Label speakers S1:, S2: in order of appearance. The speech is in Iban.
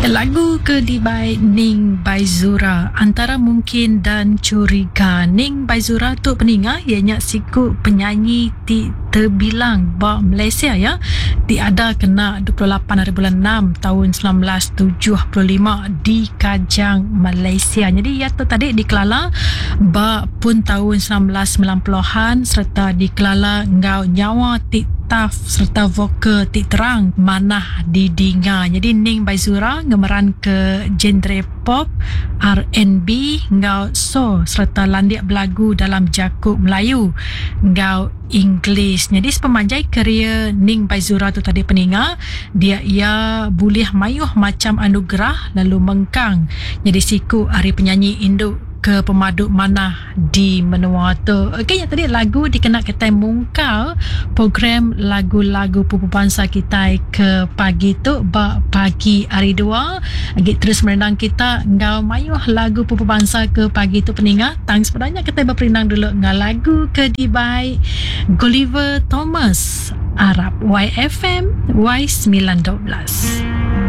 S1: Lagu ke dibai Ning Baizura antara mungkin dan curiga. Ning Baizura tu peninga iya nya siku penyanyi ti tebilang ba Malaysia iya ti ada kena 28 hari bulan enam taun 1975 di Kajang, Malaysia. Nyadi iya tu tadi dikelala ba pun taun 1990-an sereta dikelala enggau nyawa ti tough sereta vokal ti terang manah didinga. Nyadi Ning Baizura ngemeranka genre pop, RnB enggau soul sereta landik belagu dalam jaku Melayu enggau English. Nyadi sepemanjai karier Ning Baizura tu tadi peninga, dia iya bulih mayuh macham anugerah lalu mengkang nyadi siku ari penyanyi indu ke pemadu manah di menua tu. Okey nya tadi lagu dikena kitai mungkal program lagu-lagu pupu bansa kitai ke pagi tu ba pagi hari dua. Agi terus merindang kita enggau mayuh lagu pupu bansa ke pagi tu peninga. Tang sebenarnya kitai beperindang dulu enggau lagu ke dibai Gulliver Thomas Arab YFM Y912.